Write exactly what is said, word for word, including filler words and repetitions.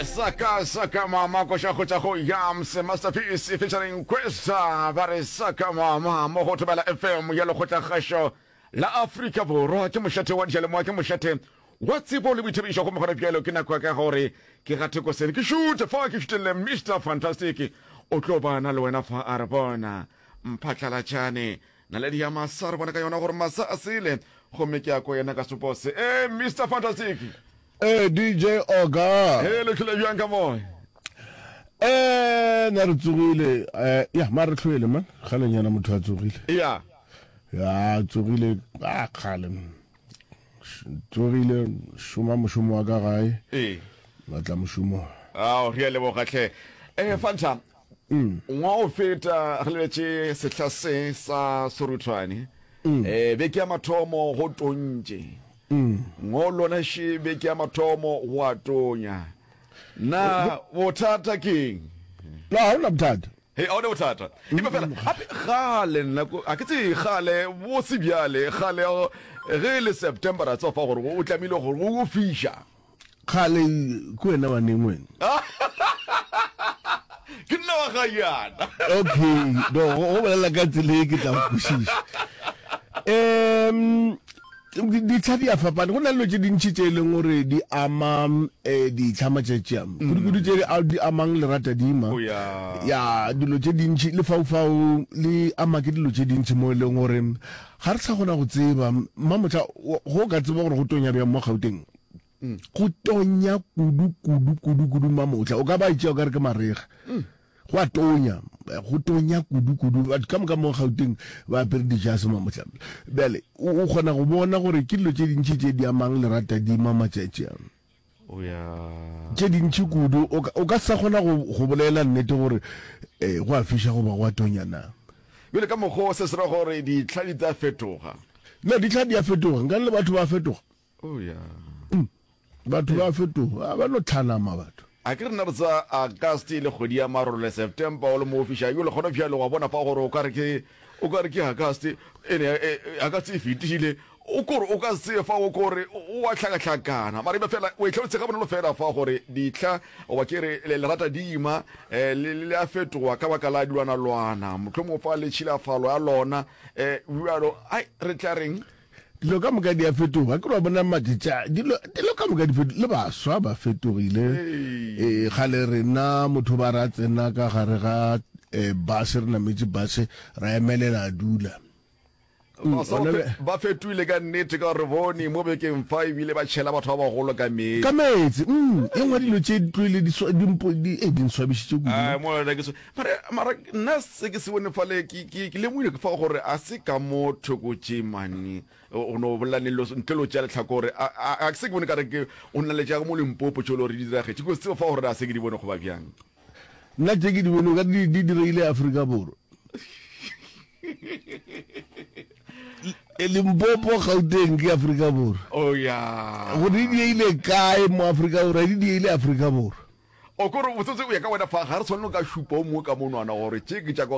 Saka saka mama koša go tša go Yams Masterpiece featuring Kwesta ba re saka mama mo go Thobela F M ya lekgotlakgašo la Afrika Borwa. Ke mošate wa diyalemoya, ke mošate wa tsebo le boithabišo, gomme gona bjalo ke nako ya ka gore ke gate kosene ke šute fa ke šutelle Mister Fantastic o tlo ba na le wena fa a re bona mphatlalatšane naledi ya masa re bona ka yona gore masa a sele gomme ke ya ko yena ka sepo se e Mister Fantastic. Ee, D J Oga. He, le tlhole bjang ka moya? Eh, na re tsogile. Eh, ya, ma re tlhoele man. Kgale nyana motho a tsogile. Ya. Ya, tsogile ah kgale. Tsogile šoma mošomo wa ka gae. Ee. Batla mošomo. Ao, re a leboga hle. Eh, Fanta. Mm. Ngwa o feta re lebetše sehla se sa seruthwane. Mm. Eh, beke ya mathomo go tontše. Mm. Ngo lona še beke ya mathomo go a tonya. Na bothata keng? No, ha ona bothata. He, a ona bothata. Empa fela gape gale nna ko a ke tse gale bo se bjale gale ge e le September ra tseba fa gore o tlamehile gore o fiša. Kgale ke wena wa neng wena? Ke nna wa ga yana. Okay, no go go bolela ka tsela e ke tla go kwešiša. Um ditlha di a fapana, go na le dilo tše dintši tše e leng gore di ama um ditlha matšatši a, kudu-kudu tše di amang leratadima. Oh ya. Ya, dilo tše dintši lefaufau le ama ke dilo tše dintši mo e leng gore ga re sa kgona go tseba. Mmamohla go ka tseba gore go tonya bjang mo Gauteng, go tonya kudu kudu kudu kudu. Mamotla o ka ba itšea o ka re ke marega, go a tonya, go tonya kudu kudu. Batho ka moka mo Gauteng ba apere dijase mamotla. Bjale o kgona go bona gore ke dilo tše dintši tše di amang leratadima matšatši a, Oh ya. tše dintši kudu. O ka sa kgona go bolela nnete gore um go a fiša goba go a tonya na. Bjale ka mokgwa o se se ra gore ditlha di tla fetoga? No, ditlha di a fetoga, nkane le batho ba a fetoga. Oh ya. Batho ba fetoga, ba no tlhanama batho. A ke rena re tsa August le kgwedi ya marole, September o le mo fiša yo le kgona bjalo wa bona fa gore o ka re ke o ka re ke August ene August e fetile o kore o ka se fa o kore o a hlakahlakana mara ebe fela o e tlhalositse ga bonolo fela fa gore ditlha goba ke re le lerata dima le le a fetoga ka baka la dilwanalwana mohlomongwe fa le tšhilafalo ya lona bjalo ai re tla reng. Dilo ka moka di a fetoga. Ke re wa bona matšatši a, dilo, dilo ka moka di fetogile. Le baswa ba fetogile. Ee, kgale rena motho ba ra tsena ka gare ga eh, bus, re nametše bus, ra emelela a dula. Mm, Baswa gona ba fe- be- ba fetoile ka nnete ka gore re bone mo bekeng fa ebile ba tšhela batho ba bagolo ka meetse. Ka meetse. Mm, e nngwe dilo tše di tloile di swa- di mpo- di- eh, di nswabišitše kudu. Ai, mo yona ke so- mara mara nna se ke se bone fale ke ke ke lemogile ke fa gore a se ka mo thoko tše mane o no bolela ne ntle lo tšea lehlakore a a se ke bone ka re ke o nna le tša mo Limpopo tšo le gore di diragetše ke tsebe fa gore a se ke di bone goba bjang. Nna tše ke di bone o ka di di diregile Afrika Borwa. Limpopo, Gauteng ke Afrika Borwa. Oh ya. Gore di dieile kae mo Afrika Borwa, di dieile Afrika Borwa. O kore botsotsi o ya ka wena fa ga re tshwanelo ka šupa o mongwe ka monwana gore tše ke tša ko